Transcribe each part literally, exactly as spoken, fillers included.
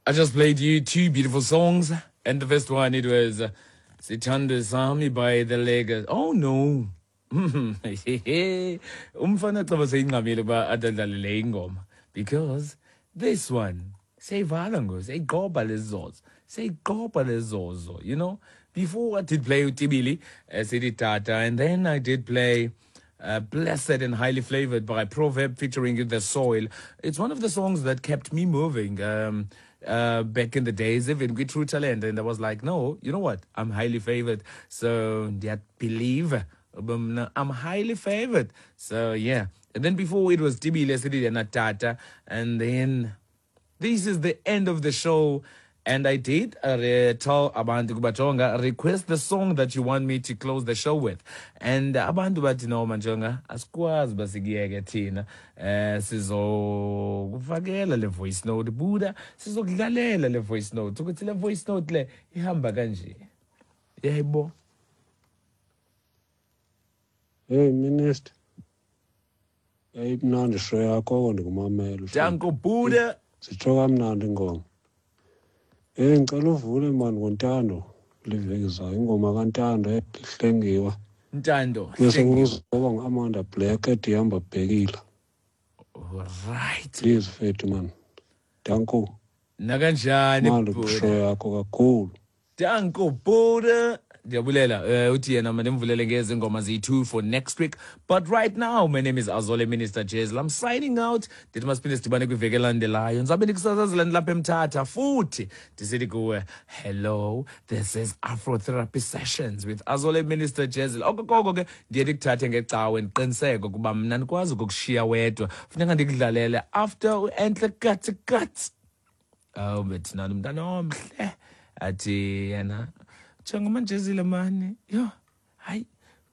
I just played you two beautiful songs, and the first one it was uh, Sithandwa Sami by the Legas. Oh no. Umfana xa seyingxamile uba adadlale le ingoma because this one seyivala ngoku seyiqoba lezozo seyiqoba lezozo you know before I did play uTibili uh, Sithi Tata and then I did play uh, Blessed and Highly Flavored by Proverb featuring The Soil. It's one of the songs that kept me moving um, uh, back in the days, even with True Talent. And I was like, no, you know what? I'm highly favored. So, yeah, believe. Um, I'm highly favored. So, yeah. And then before it was Tibile Sithi and Tata. And then this is the end of the show. And I did uh, tell abantu ukuba jonga request the song that you want me to close the show with. And abantu bathi no manjonga asikwazi uba sikuyeke thina eh sizokufakela le voice note buda sizokudlalela le voice note ukuthi le voice note le ihamba kanje. Yayibo. Hey minister. Yayimnandi show yakho oko ndikumamela. Danko Buda. Sitsho kamnandi ingoma. Eh ngicela uvule mani ngoNtando liveki zayo ingoma kaNtando ehlengiwa. Ntando. Bese kuzoba nguAmanda Black ethi hamba bhekile. Right. Please fethu man. Danko. Nakanjani Mali show yakho kakhulu. Danko Buda. Ndiyabulela uh, uthi yena mandimvulele ngezi ngoma ziyi-two for next week. But right now, my name is Azole Minister Jezel. I'm signing out. Ndithi masiphinde sidibane kwiveki elandelayo. Ndizabe ndikusasazela ndilapha eMthatha futhi ndisithi kuwe, hello, this is Afrotherapy Sessions with Azole Minister Jezel. Okokoko ke ndiye ndikuthathe ngecawe ndiqiniseke ukuba mna ndikwazi ukukushiya wedwa. Funeka ndikudlalele after uEntle Katsi Katsi. Oh, bethina umntana omhle. Athi yena jonga Jezile mani yo hayi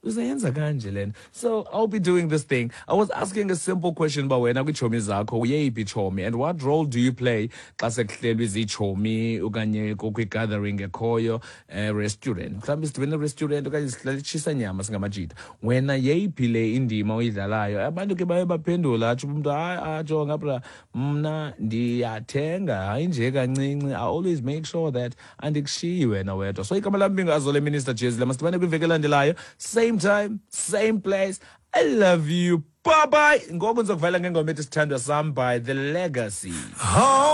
uzayenza kanje lena. So I'll be doing this thing. I was asking a simple question uba wena kwiitshomi zakho uyeyiphi itshomi and what role do you play xa sekuhlelwe ziitshomi okanye kukho i-gathering ekhoyo eh, restaurant mhlawumbi sidibene restaurant okanye sihlala itshisa nyama singamajita wena yeyiphi le indima oyidlalayo abantu ke baye baphendula atsho umntu hayi ajonga bra mna ndiyathenga hayi nje kancinci I always make sure that andikushiyi wena wedwa so igama lam binguAzole Minister Jezile masidibane kwiveki elandelayo same time same place I love you bye bye ngoku ndizokuvala ngengoma ethi sithandwa sam by The Legacy Oh.